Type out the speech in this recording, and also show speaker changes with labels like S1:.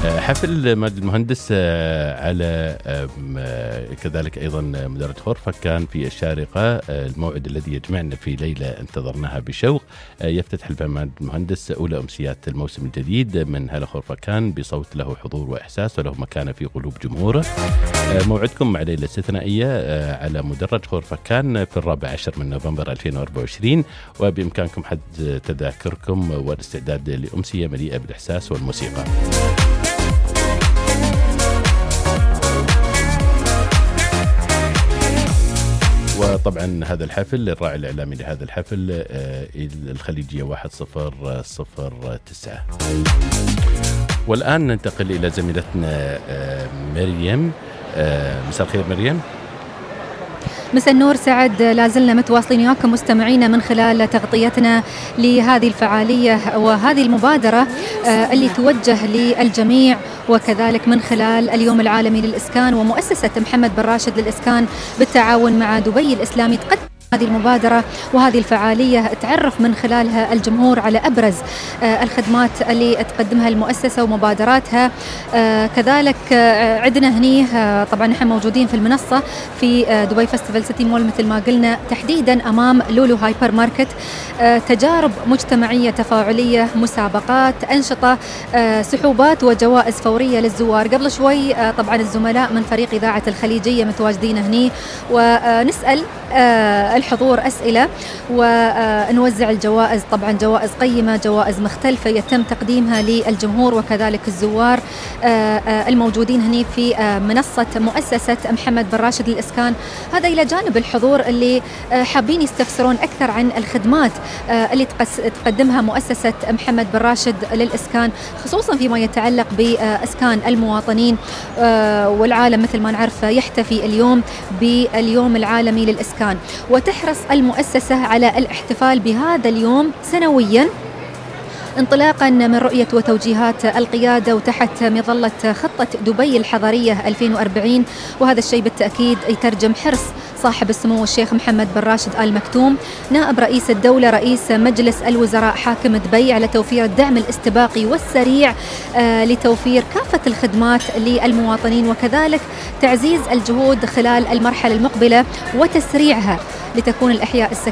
S1: حفل مجد المهندس على كذلك أيضا مديرية خورفكان في الشارقة، الموعد الذي يجمعنا في ليلة انتظرناها بشوق. يفتتح الفنان المهندس أولى أمسيات الموسم الجديد من هلا خورفكان بصوت له حضور وإحساس وله مكانة في قلوب جمهوره. موعدكم مع ليلة استثنائية على مدرج خورفكان في 14 من نوفمبر 2024، وبإمكانكم حجز تذاكركم والاستعداد لأمسية مليئة بالإحساس والموسيقى. وطبعا هذا الحفل الراعي الإعلامي لهذا الحفل الخليجية 1009. والآن ننتقل إلى زميلتنا مريم. مساء الخير مريم.
S2: مساء النور سعد، لازلنا متواصلين وياكم مستمعينا من خلال تغطيتنا لهذه الفعالية وهذه المبادرة اللي توجه للجميع، وكذلك من خلال اليوم العالمي للإسكان ومؤسسة محمد بن راشد للإسكان بالتعاون مع دبي الإسلامي تقدم هذه المبادرة وهذه الفعالية تعرف من خلالها الجمهور على أبرز الخدمات اللي تقدمها المؤسسة ومبادراتها. كذلك عندنا هني طبعا نحن موجودين في المنصة في دبي فستيفال سيتي مول مثل ما قلنا، تحديدا أمام لولو هايبر ماركت. تجارب مجتمعية تفاعلية، مسابقات، أنشطة، سحوبات وجوائز فورية للزوار. قبل شوي طبعا الزملاء من فريق إذاعة الخليجية متواجدين هني ونسأل الحضور أسئلة ونوزع الجوائز، طبعا جوائز قيمة، جوائز مختلفة يتم تقديمها للجمهور وكذلك الزوار الموجودين هني في منصة مؤسسة محمد بن راشد للإسكان. هذا إلى جانب الحضور اللي حابين يستفسرون أكثر عن الخدمات اللي تقدمها مؤسسة محمد بن راشد للإسكان، خصوصا فيما يتعلق بإسكان المواطنين. والعالم مثل ما نعرف يحتفي اليوم باليوم العالمي للإسكان، وتحرص المؤسسة على الاحتفال بهذا اليوم سنويا انطلاقا من رؤية وتوجيهات القيادة وتحت مظلة خطة دبي الحضرية 2040. وهذا الشيء بالتأكيد يترجم حرص صاحب السمو الشيخ محمد بن راشد آل مكتوم نائب رئيس الدولة رئيس مجلس الوزراء حاكم دبي على توفير الدعم الاستباقي والسريع لتوفير كافة الخدمات للمواطنين، وكذلك تعزيز الجهود خلال المرحلة المقبلة وتسريعها لتكون الإحياء السكني